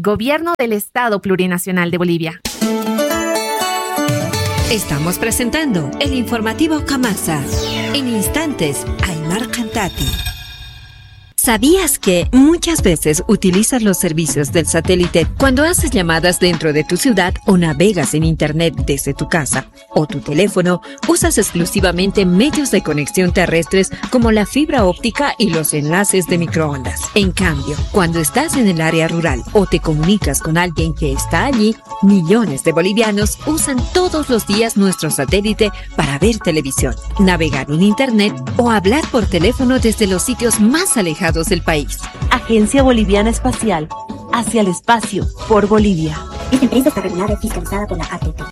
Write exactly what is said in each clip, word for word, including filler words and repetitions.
Gobierno del Estado Plurinacional de Bolivia. Estamos presentando el informativo Kamasa. En instantes, Aymar Cantati. ¿Sabías que muchas veces utilizas los servicios del satélite cuando haces llamadas dentro de tu ciudad o navegas en internet desde tu casa o tu teléfono? Usas exclusivamente medios de conexión terrestres como la fibra óptica y los enlaces de microondas. En cambio, cuando estás en el área rural o te comunicas con alguien que está allí, millones de bolivianos usan todos los días nuestro satélite para ver televisión, navegar en internet o hablar por teléfono desde los sitios más alejados del país. Agencia Boliviana Espacial, hacia el espacio, por Bolivia. Esta empresa está regulada y fiscalizada por la A T T.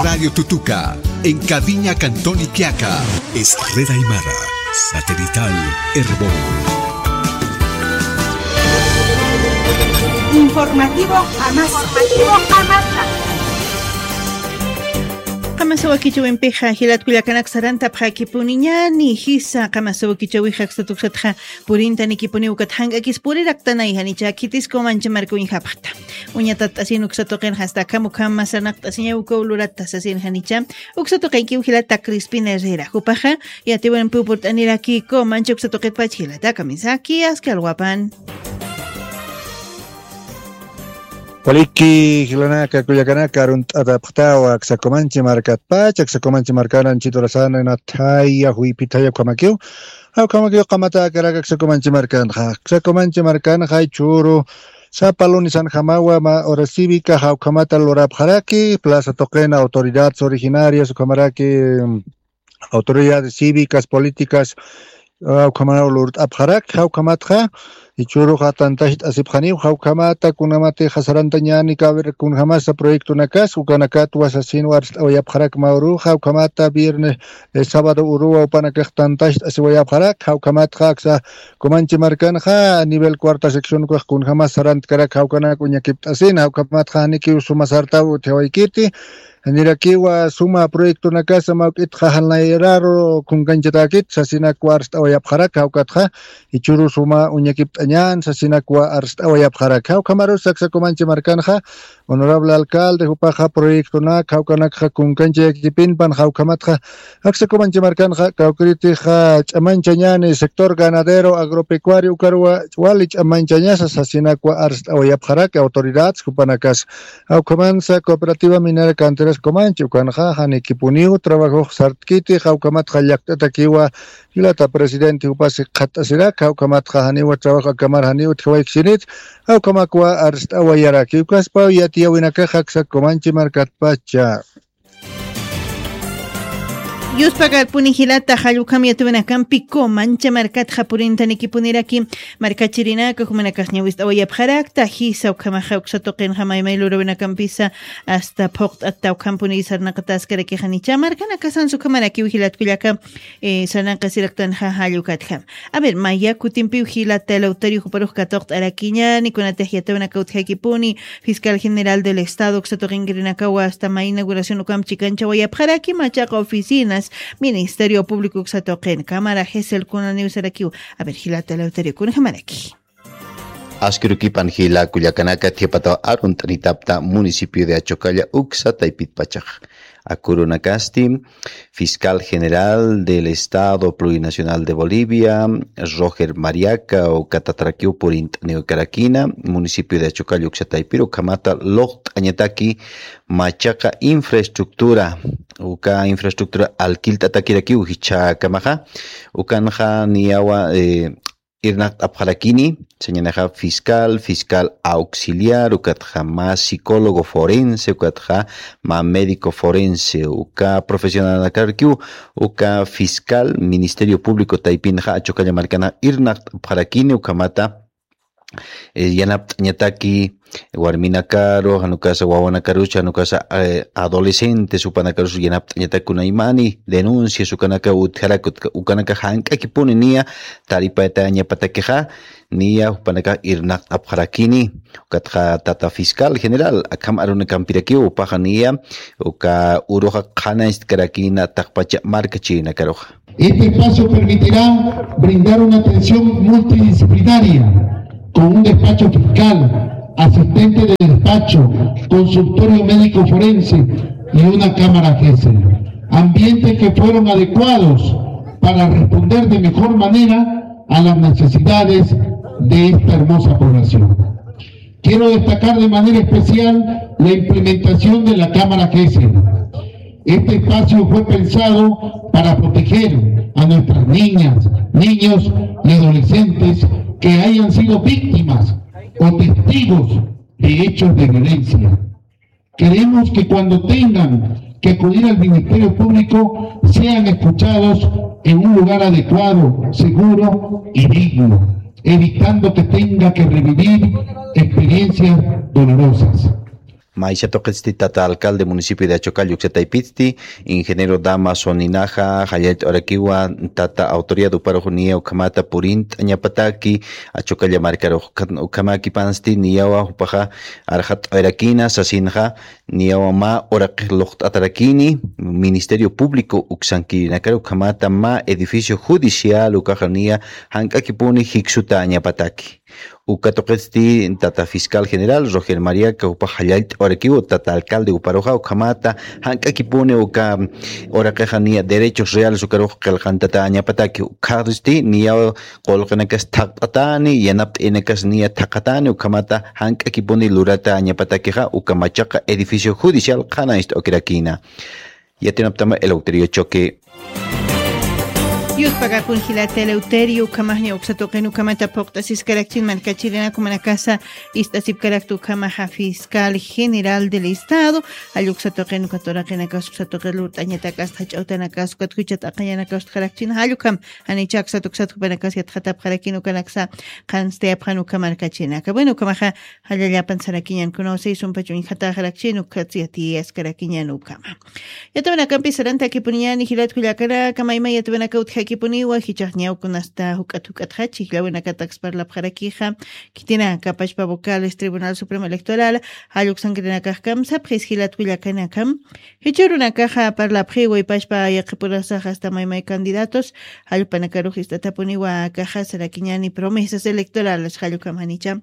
Radio Tutuca, en Cabiña, Cantón Iquiaca, es red aymara, satelital Erbol. Informativo Amasa. Informativo Amasa. Qamasa wakichäwimpixa jilat kullakanak sarantapxakipuniñäni jisa qamasa wakichäwixa aksat uksatxa purintanikipuniw ukat jank'akis puriraktanay janicha khitis Comanche marka uñjapxta. Uñatat'asin uksa tuqinxa hasta akham ukham sarnaqt'asiñaw ukaw lurata sasin janicha. Uksa tuqinkiw jilata Crispin Herrera. Jupaxa yatiwinpiw purt'aniraki Comanche uksa tuqitpach jilata kamisaki aski alwapan. Waliki jilanaka kullakanaka arunt'atapxtawa aksa Comanche markatpach, aksa Comanche markanan chiturasan nathaya juyphithaya ukhamakiw. Jawkhamakiw qamata akarak aksa Comanche markanxa. Aksa Comanche markanxa jichhüru sapa lunes anjamawa ma hora cívica jawkhamata lurapxaraki, plaza tuqina autoridades originarias ukhamaraki, mm, autoridades cívicas, políticas, jawkhamanaw lurt'apxaraki, jawkhamatxa jichhüruxa tantacht'asipxaniw, jawkhamata kunjamatixa sarantañäni, a ver, kunjamasa proyectonakas, ukanakatwa sasinwa arst'awayapxaraki mä uruxa, jawkhamata viernes, eh, sábado uruwa jupanakax tantacht'asiwayapxaraki, jawkhamatxa aksa Comanche markanxa, a nivel cuarta sección ukax kunjamas sarantkaraki, jawkanak uñakipt'asina, jawkhamatxa janikiw suma sartaw utjawaykiti, janirakiwa suma proyectonakasa mawk'itxa janayraru kunkanchatäkit, sasinakwa arst'awayapxaraki, jawkatxa jichhüru suma uñakipt'añän, sasinakwa arst'awayapxaraki. Jawkhamarus aksa Comanche markanxa, honorable alcalde, jupaxa proyectonak, jawkanakxa kunkanchayakipinpan, jawkhamatxa aksa Comanche markanxa, kawkïritixa ch'amanchañäni sector ganadero agropecuario, ukarwa wali ch'amanchañasa, sasinakwa arst'awayapxaraki autoridades jupanakas. Jawkhamansa Cooperativa Minera Canteras Comanche, ukanxa janikipuniw trabajox sartkiti, jawkhamatxa llakt'atakiwa jilata presidente jupasi qhatt'asirak, jawkhamatxa janiwa trabajo akamar janiw utjawaykisinit, jawkhamakwa arst'awayaraki, ukaspaw yatiyäwinakax aksa Comanche markatpacha. Yuspakarpuni jilata, jall ukham yatiyäwinakampi Comanche markatxa purintanikipuniraki, markachirinaka jumanakax ñäwist'awayapxarakta, jisa ukhamaxa uksa tuqinxa maymay luräwinakampisa hasta phuqt'atta ukhampuni sarnaqataskarakixa nicha markanakasansa ukhamarakiw jilat kullaka, eh, sarnaqasiraktanxa jall ukatjam. A ver, maya kutimpiw jilata Eleuterio juparux katuqt'arakiñäni, kunatix yatiyäwinaka utjakipuni, Fiscal General del Estado uksa tuqinkirinakawa hasta mä inauguración ukham chikanchawayapxaraki, machaqa oficinas, Ministerio Público uksa tuqin, Cámara Gesell kunaniw sarakiw. A ver, jilata Eleuterio, kunjamaraki. Askirukipan jila kullakanaka, thiyapataw arunt'anitapxta municipio de Achocalla uksa taypitpachax. Akürunakasti, Fiscal General del Estado Plurinacional de Bolivia, Roger Mariaca, uka tatarakiw purint'aniwkarakina, municipio de Achocalla uksa taypiru, ukhamata luqt'añataki machaqa infraestructura, uka infraestructura alquilt'atakirakiw jichhakamaxa, ukanxa niyawa, eh, irnaqt'apxarakini, sañänixa fiscal, fiscal auxiliar, ukatxa mä psicólogo forense, ukatxa mä médico forense, uka profesionalnakarakiw, uka fiscal, Ministerio Público taypinxa Achocalla markana irnaqt'apxarakini, ukhamata, eh, yanapt'añataki, warminakaru, jan ukasa wawanakarucha, jan ukasa, eh, adolescentes, jupanakarus yanapt'añatak kunaymani denuncias ukanaka utjarak, utka-, ukanaka jank'akipuni niya taripatañapatakixa, niya jupanaka irnaqt'apxarakini, ukatxa tata fiscal general, akham arunakampirakiw, jupaxa niya uka uruxa qhanañcht'karakina taqpacha markachirinakaruxa. Este espacio permitirá brindar una atención multidisciplinaria con un despacho fiscal, asistente de despacho, consultorio médico forense y una cámara Gesell. Ambientes que fueron adecuados para responder de mejor manera a las necesidades de esta hermosa población. Quiero destacar de manera especial la implementación de la cámara Gesell. Este espacio fue pensado para proteger a nuestras niñas, niños y adolescentes que hayan sido víctimas o testigos de hechos de violencia. Queremos que cuando tengan que acudir al Ministerio Público sean escuchados en un lugar adecuado, seguro y digno, evitando que tenga que revivir experiencias dolorosas. Maysha tuqitsti tata alcalde municipio de Achucal yuksataypitsti, ingeniero Dama Soninaja, jallallt'awarakiwa tata autoridad uparux niya ukhamata purint'añapataki, Achucalla markarux ukhan-, ukhamakipansti niyawa jupaxa arxat'awarakina sasinxa, niyawa mä uraqix luqt'atarakini, Ministerio Público uksankirinakar ukhamata mä edificio judicial ukaxa niya jank'akipuni jiksutañapataki. Uka tuqitsti tata fiscal general Roger Mariaca jupax jallallt'awarakiw tata alcalde uparuxa ukhamata jank'akipuni uka uraqixa niya derechos reales ukarux qillqantatañapataki, ukkhatsti niya qullqinakas thaqt'atani, yanapt'inakas niya thaqatani, ukhamata jank'akipuni luratañapatakixa uka machaqa edificio judicial qhanañcht'awakirakina. Yatinaptama Eleuterio Choque. Yutpagapun jilata Eleuterio, ukhamaxña uksa tuqin ukhamata phuqt'asiskarakchin markachirinakumanakasa ist'asipkarakta ukhamaxa fiscal general del Estado, jall uksa tuqin uka turaqinakas uksa tuqi lurt'añatakas jach'awtanakas ukat juchat aqañanakas utjarakchin, jall ukham janicha aksat uksat jupanakas yatxatapxarakin ukanaksa qhanstayapxan ukha markachinaka. Bueno, ukhamaxa jallallapan sarakiñan kunaw sisumpa chuñjataxarakchin ukhatsi yatiyaskarakiñan ukhama. Yatawanakampi sarantakipuniñani jilat kullakanaka, mayma yatawanaka utjakipuniwa, jichax ñaw kunasta juk'at juk'atxa chijllawinakataks parlapxarakixa, khitinakapachpa vocales Tribunal Supremo Electoral jall uksankirinakax kamsapxis jilat kullakanakam. Jichhürunakaxa parlapxiwa ipachpa yaqhipurasax hasta maymay candidatos jall jupanakarux ist'atapuniwa akaxa sarakiñani promesas electorales jall ukham janicha.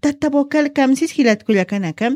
Tata vocal kamsis jilat kullakanaka,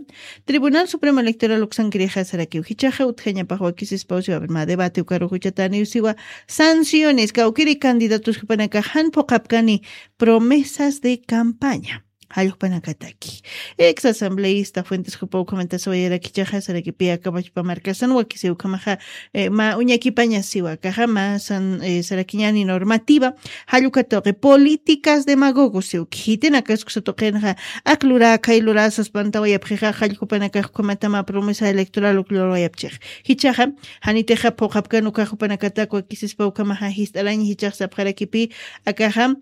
Tribunal Supremo Electoral uksankirixa sarakiw jichaxa utjañapax wakisispaw siwa, a ver, mä debate ukarux juchataniw siwa, sanciones kawkiri candidatos jupanakax jan phuqhapkani promesas de campaña. Jall jupanakataki. Ex asambleísta Fuentes jupa ukhamanta sawayarakichaxa sarakipi akapachpa markasan wakisiw ukhamaxa, eh, mä uñakipaña siwa akaxa mä san, eh, sarakiñani normativa, jall uka tuqi políticas demagogos siw, khitinakas uksa tuqinxa ak lurä khay lurä saspantawayapxixa, jall jupanakax ukhamatama promesa electoral uk lurwayapchix. Jichaxa janitixa phuqhapkan ukax jupanakatak wakisispa ukhamaxa jist'araña jichax sapxarakipi akaxa,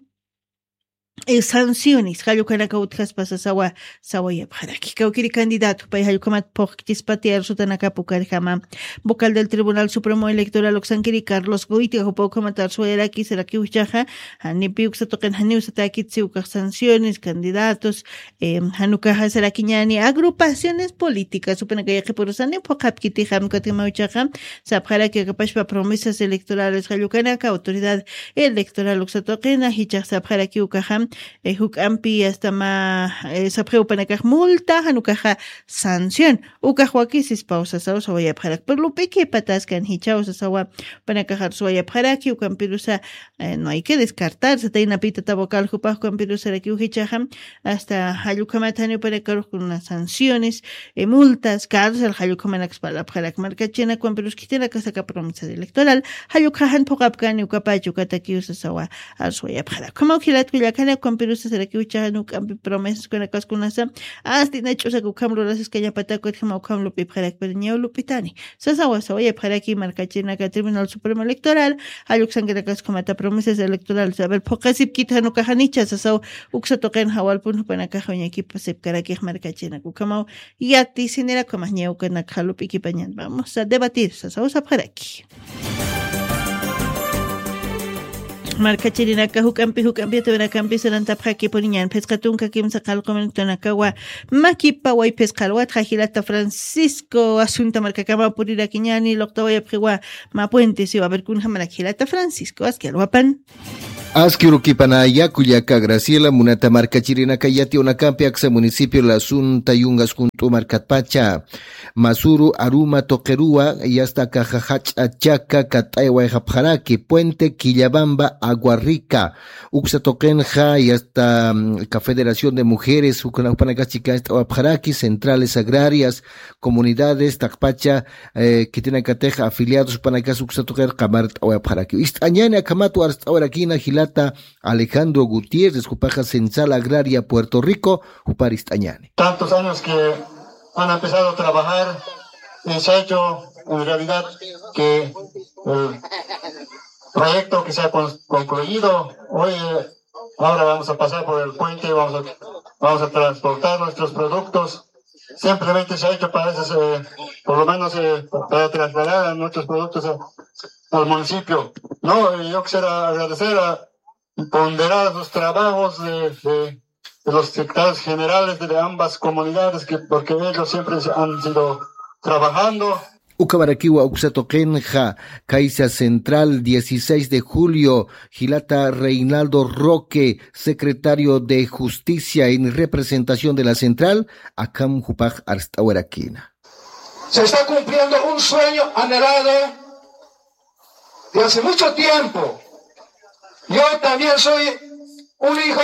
eh, sanciones jall ukanaka utjaspa sasawa sawayapxaraki. Kawkiri candidato pay jall ukhamat phuqhkichispati arsutanakap ukarjama. Vocal del Tribunal Supremo Electoral uksankiri Carlos Goitia jupa ukhamat arsuwayaraki sarakiw jichaxa, janipi uksa tuqin janiw satäkit siw ukax sanciones, candidatos, em, jan ukaxa sarakiñani agrupaciones políticas jupanaka yaqhipurusani phuqhapkitixam, ukatjamaw jichaxa sapxaraki akapachpa promesas electorales jall ukanaka, autoridad electoral uksa tuqina, jichax sapxaraki ukaxa, eh, juk'ampi hasta mä, eh, sapxi jupanakax multa, jan ukaxa sanción. Ukax wakisispaw sasaw sawayapxarak. Pero lup'ikipataskan jichaw sasawa jupanakax arsuwayapxaraki, ukampirusa, eh, no hay que descartar, sataynapi tata vocal jupax ukampirusarakiw jichaxa, hasta jall ukhamat jani jupanakarux kuna sanciones, eh, multas, cárcel, jall ukhamanaks parlapxarak markachinak, ukampirus khitinakas aka promesa electoral, jall ukxa jan phuqhapkani ukapach ukatakiw sasawa arsuwayapxarak. Ukhamaw jilat kullakana, ukampirusa sarakiw jichaxa juk'ampi promesas kunakaskunasa, hasta ina ch'usak ukham lurasiskañapatak, ukatjama ukham lup'ipxarak, pero ñaw lup'itani. Sasawa sawayapxaraki markachinaka Tribunal Supremo Electoral, jall uksankirakas ukhamata promesas electorales. A ver, phuqhasipkit jan ukax janicha sasaw uksa tuqin jawalpun jupanakax uñakipasipkarakix markachinak. Ukhamaw yatisinira ukhamax ña ukanakxa lup'ikipañan. Vamos a debatir, sasaw sapxaraki. Markachirinaka juk'ampi, juk'ampi, yatawinakampi sarantapxakipuniñan, phisqa tunka kimsa qallqu minutunakawa, makipa wayphisqa alwatxa jilata Francisco, asunta markakama purirakiñani, luqtawayapxiwa, mä puente siwa, a ver, kunjamarak jilata Francisco, aski alwapan. Aski urukipanaya kullaka Graciela, munata markachirinaka yatiyunakampi aksa municipio La Sunta yungas junt'u markatpacha Masuru Aruma tuqiruwa yasta akaxa jach'a chaka kat'ay wayxapxaraki Puente Quillabamba Agua Rica uksa tuqinxa yasta mm, ka Federación de Mujeres jupanakax chika ist'awapxaraki centrales agrarias comunidades taqpacha eh, khitinakatix afiliados panakas uksa tuqir qamar t'awayapxaraki. Ist'añani akhamat warst'awarakina jilata Alejandro Gutiérrez, jupaxa Central Agraria Puerto Rico, jupar ist'añani. Tantos años que han empezado a trabajar y se ha hecho en realidad que el proyecto que se ha con- concluido hoy, eh, ahora vamos a pasar por el puente, vamos a, vamos a transportar nuestros productos. Simplemente se ha hecho para esas, eh, por lo menos eh, para trasladar nuestros productos a- al municipio. No, y yo quisiera agradecer a ponderar los trabajos de, de- de los secretarios generales de ambas comunidades, que, porque ellos siempre se han sido trabajando. Ukhamarakiwa uksa tuqinxa, Caixa Central, dieciséis de julio, jilata Reinaldo Roque, secretario de Justicia en representación de la Central, akham jupax arst'awarakina. Se está cumpliendo un sueño anhelado de hace mucho tiempo. Yo también soy un hijo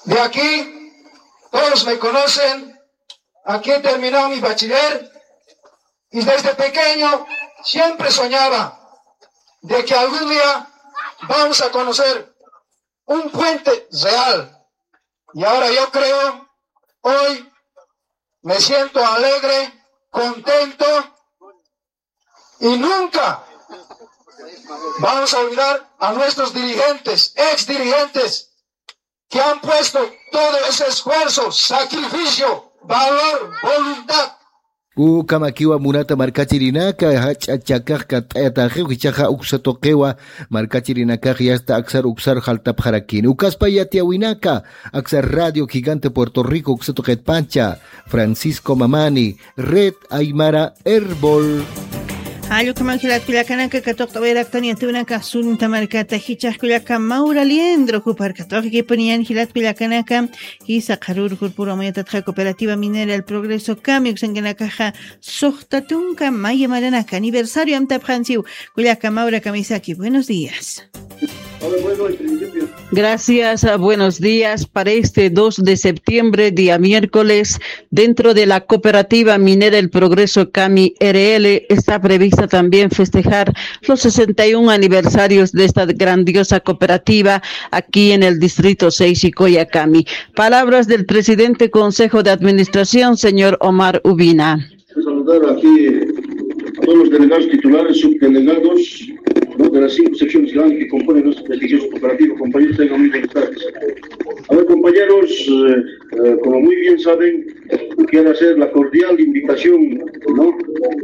de aquí, todos me conocen, aquí he terminado mi bachiller y desde pequeño siempre soñaba de que algún día vamos a conocer un puente real. Y ahora yo creo, hoy me siento alegre, contento y nunca vamos a olvidar a nuestros dirigentes, ex dirigentes, que han puesto todo ese esfuerzo, sacrificio, valor, voluntad. Ukhamakiwa munata markachirinaka, jach'a chakax kat'ayataxiw, jichhaxa uksa tuqiwa markachirinakax yasta aksar uksar jaltapxarakini. Ukaspa yatiyäwinaka, aksa Radio Gigante Puerto Rico uksa tuqitpacha, Francisco Mamani, Red Aymara Erbol. Jall ukhaman jilat kullakanaka, katuqt'awayaraktani yatiyäwinaka Sunta markata, jichhax kullaka Maura Liendro, jupar katuqikipuniyan jilat kullakanaka, jisa qharürux purpuru amayatatxa Cooperativa Minera El Progreso Kami uksankanakaxa suxta tunka maya maranaka aniversario amtapxansiw. Kullaka Maura kamisaki, buenos días. Gracias, ah, buenos días. Para este dos de septiembre, día miércoles, dentro de la cooperativa minera El Progreso Cami R L, está prevista también festejar los sesenta y un aniversarios de esta grandiosa cooperativa aquí en el distrito seis Icoyacami. Palabras del presidente Consejo de Administración, señor Omar Ubina. Saludar aquí a todos los delegados titulares, subdelegados, ¿no? De las cinco secciones grandes que componen nuestra prestigiosa cooperativa. Compañeros, tengan muy buenas tardes. A ver, compañeros, eh, eh, como muy bien saben, quiero hacer la cordial invitación, ¿no?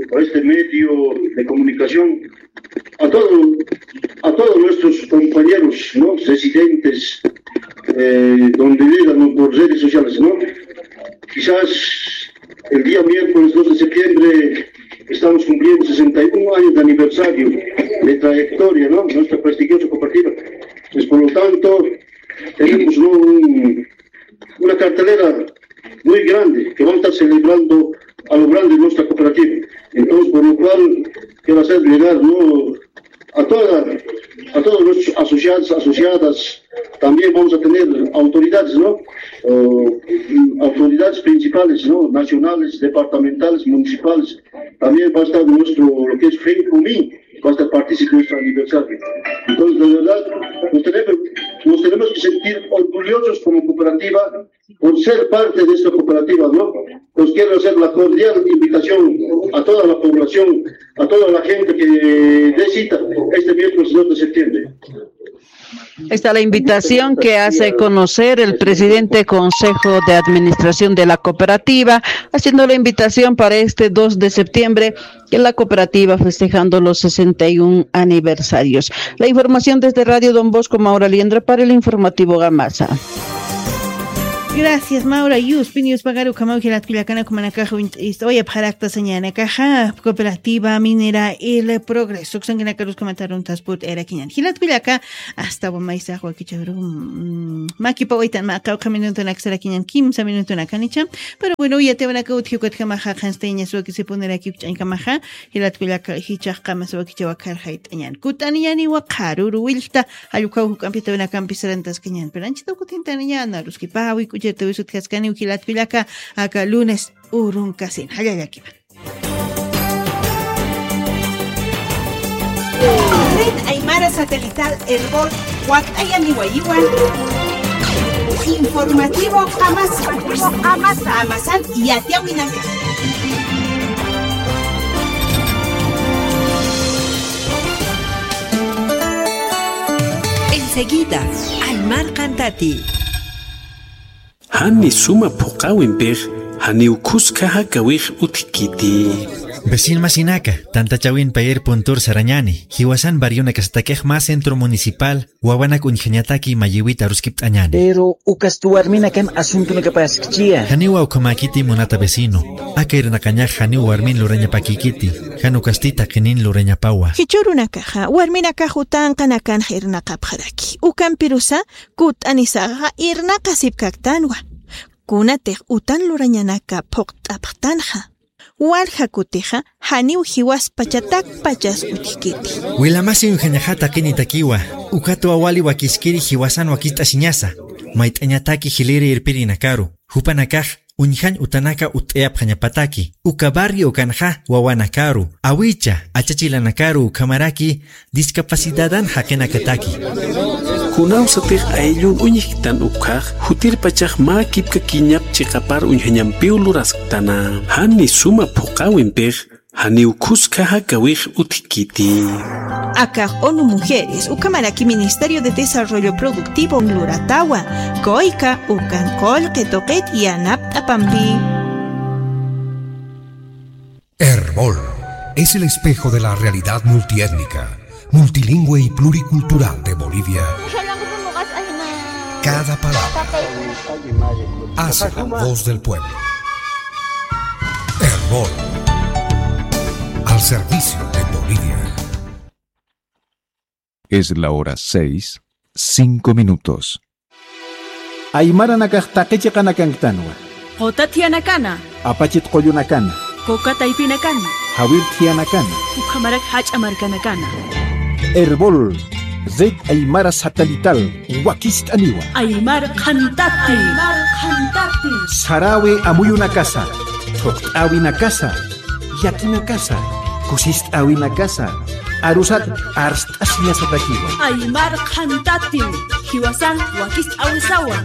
Por este medio de comunicación a todo, a todos nuestros compañeros, ¿no? Residentes, eh, donde llegan, ¿no? Por redes sociales, ¿no? Quizás el día miércoles dos de septiembre estamos cumpliendo sesenta y un años de aniversario de trayectoria, ¿no? Nuestra prestigiosa cooperativa. Pues, por lo tanto, tenemos, ¿no? Un, una cartelera muy grande que vamos a estar celebrando a lo grande nuestra cooperativa. Entonces, por lo cual, quiero hacer llegar, ¿no? A toda, a todos los asociados, asociadas, también vamos a tener autoridades, ¿no? Eh, autoridades principales, ¿no? Nacionales, departamentales, municipales. También va a estar nuestro, lo que es FENCOMI, va a estar partícipe de nuestro aniversario. Entonces, de verdad, nos tenemos, nos tenemos que sentir orgullosos como cooperativa por ser parte de esta cooperativa, ¿no? Pues quiero hacer la cordial invitación a toda la población, a toda la gente que dé cita este miércoles dos de septiembre. Esta es la invitación que hace conocer el presidente Consejo de Administración de la Cooperativa, haciendo la invitación para este dos de septiembre, que la cooperativa festejando los sesenta y un aniversarios. La información desde Radio Don Bosco, Maura Liendra, para el informativo Gamasa. Gracias, Maura. Yuspi, Yuspagar ukhamaw jilat kullakanaka, jumanakax uñt'ista, uyapxarakta sañanakaxa, Cooperativa Minera El Progreso. Uksankinakaruskamataruntas purt'ayarakiñan. Jilat kullaka, hasta wamaysax wakichawru, mm, makipa uytan mä qawqha minutunak sarakiñan, kimsa minutunakanicha. Pero bueno, yatiwanaka utji ukatjamaxa qhanstayañas wakisipuniraki ukch'añkamaxa, jilat kullaka jichhax qamas wakichaw akharxayt'añan. Kut'aniyaniwa qharüru willkta, jallukhaw juk'ampi yatiwanakampi sarantaskañan. Pero anchhitaw kutintaniñan, aruskipäwi, k'uchirtawisutjaskaniw jilat kullaka, aka lunes urunkasin. Jallallakiwa. Red Aymara Satelital Erbol, wakt'ayaniwayiwan. Informativo Qamasa. Qamasa. Qamasan yatiwinaka. Enseguida, Aymar Qantati. Jani suma phuqäwimpix, janiw khuska jakawix utjkiti. Vecin masinaka, tantachawin payer puntur sarañani, jiwasan barrionakasatakix mä centro municipal, wawanak uñjañataki mayïwit aruskipt'añani. Pero ukasti warminakan asuntunakapaskchiya. Janiwa ukhamäkiti munata vecino, aka irnaqañax janiw warmin lurañapakïkiti, jan ukasti taqinin lurañapawa. Jichhürunakaxa, warminakax utanqanakanx irnaqapxaraki. Ukampirusa, kut'anisaxa irnaqasipkaktanwa. Kunatix utan lurañanaka phuqt'apxtanxa. Walja kutixa janiw jiwaspachatakpachas utjkiti. Wilamasi uñjañaxa taqinitakiwa, ukatwa wali wakiskiri jiwasan wakist'asiñasa, mayt'añataki jiliri irpirinakaru, jupanakax uñjañ utanaka utt'ayapxañapataki, uka barrio ukanxa wawanakaru, awicha, achachilanakaru ukhamaraki discapacidadan jaqinakataki. Kunawsatix ayllun uñjktan ukhax, jutirpachax mä kipka kiñap chiqapar uñjañampiw lurasktana. Jani suma phuqäwimpix, janiw khuska jakawix utjkiti. Akax ONU Mujeres, ukhamaraki Ministerio de Desarrollo Productivo luratawa, kuyka ukan qullqi tuqit yanapt'apampi. Erbol es el espejo de la realidad multiétnica, multilingüe y pluricultural de Bolivia. Cada palabra hace la voz del pueblo. Erbol, al servicio de Bolivia. Es la hora seis, cinco minutos. Aymaranakax taqi chiqanakanktanwa. Quta thiyanakana. Apachit qullunakana. Kuka taypinakana. Jawir thiyanakana. Ukhamarak jach'a markanakana. Erbol, Red Aymara Satelital, wakist'aniwa. Aymar qhantati. Aymar qhantati. Sarawi amuyunakasa, thuqt'äwinakasa, llakinakasa, kusist'äwinakasa, arusat arst'asiñasatakiwa. Aymar qhantati, jiwasan wakist'äwisawa.